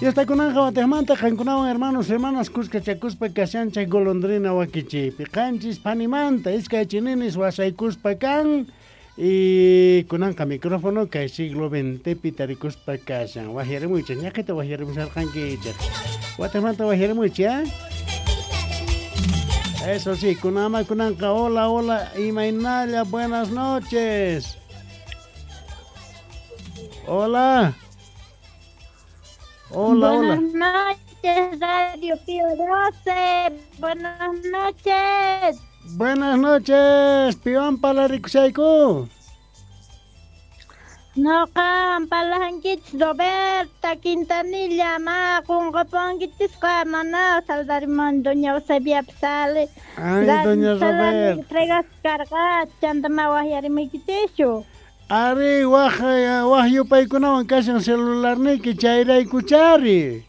Ya kunanqa watejmanta qankunawan hermanos, hermanas kuskachakuspa kashanchej golondrina wakichiypi. Qanchis phanimanta iskay chininis wasaykuspa kan. Y kunanqa micrófono kay siglo XXpi tarikuspa kashan. Wajyarimuychej, ñaqita wajyarimusharqankichej. Watejmanta wajyarimuychej, ¿ah? Eso sí, kunama kunanqa, hola, hola, imaynalla, buenas noches. Hola. Hola, Buenas hola. noches, Radio Pío 12. Buenas noches. Buenas noches, piwan parlarikushayku. Noqa parlajankichis Roberta Quintanilla, ma qunqapuwankichisqa mana saludarimun doña Eusebia sale. Ay, doña Roberta. Entregas karqa, chanta ma wajyarimuykichikchu. Ari, waj, waj yupaykunawan kashan celularniyki chayraykuchari.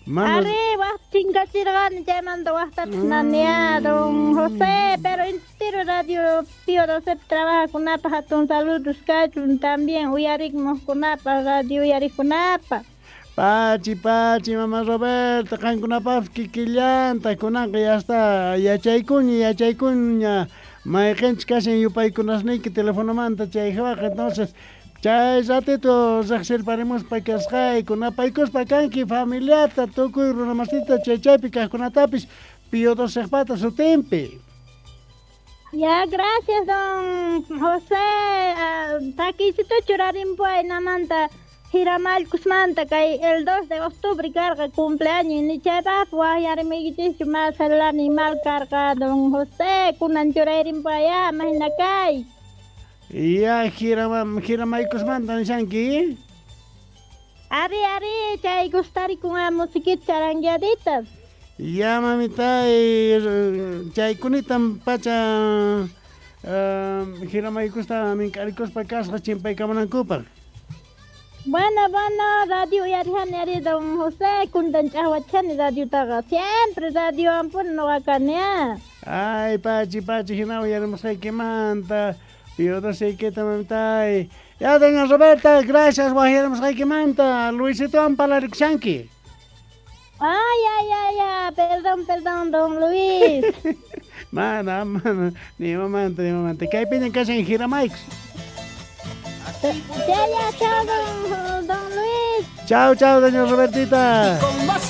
Mana Ari, waj chinkachirqani chaymanta wajtapis nania, don José, pero entero Radio Pío 12 trabajakunapaj hatun saludos kachun también uyarikmuqkunapaj radio uyarikkunapaj. Pachi, pachi, mamá Roberta, qankunapaq kikillanta, kunanqa ya está, yachaykuña, yachaykuña, mayqinchus kashan yupaykunasniyki telefonomanta chay hawaqa, entonces, chay ratito riqsirparimuspa kasqayku, napaykuspa kanki familiata, tukuy runamasita chay chaypi kaqkunatapis Pío 12pata sutinpi. Ya, gracias, don José. Takisito churarimpuay namanta Jiramallkusmanta kay el 2 de octubre karqa cumpleaños ni chaypaq wajyarimuykichikchu ma celular ni mal karqa don José kunan churayrimpuay mahina kay. Ya, Jiramaykusmanta nishanki. Ari, ari, chay gustarikun musiquita charangueaditas. Ya, mamita, chaykunitan pacha Jiramaykusta mink'arikuspa kasqa chimpaykamunankupaq. Bueno, bueno, radio uyarijani ari don José, kuntan ch'aqwachani radiotaqa. Siempre radio ampuni nuqa kani, ah. Ay, pachi, pachi, hina uyarimusqaykimanta. Pío 12 mamitay. Ya, doña Roberta, gracias wajyarimusqaykimanta. Luisitowan parlarikushanki. Ay, ay, ay, ay, perdón, perdón, don Luis. Mana, mana, ni mamanta, ni mamanta. Kaypiña kashan Jiramaykus. Ya, ya, chao, don Luis. Chao, chao, doña Robertita.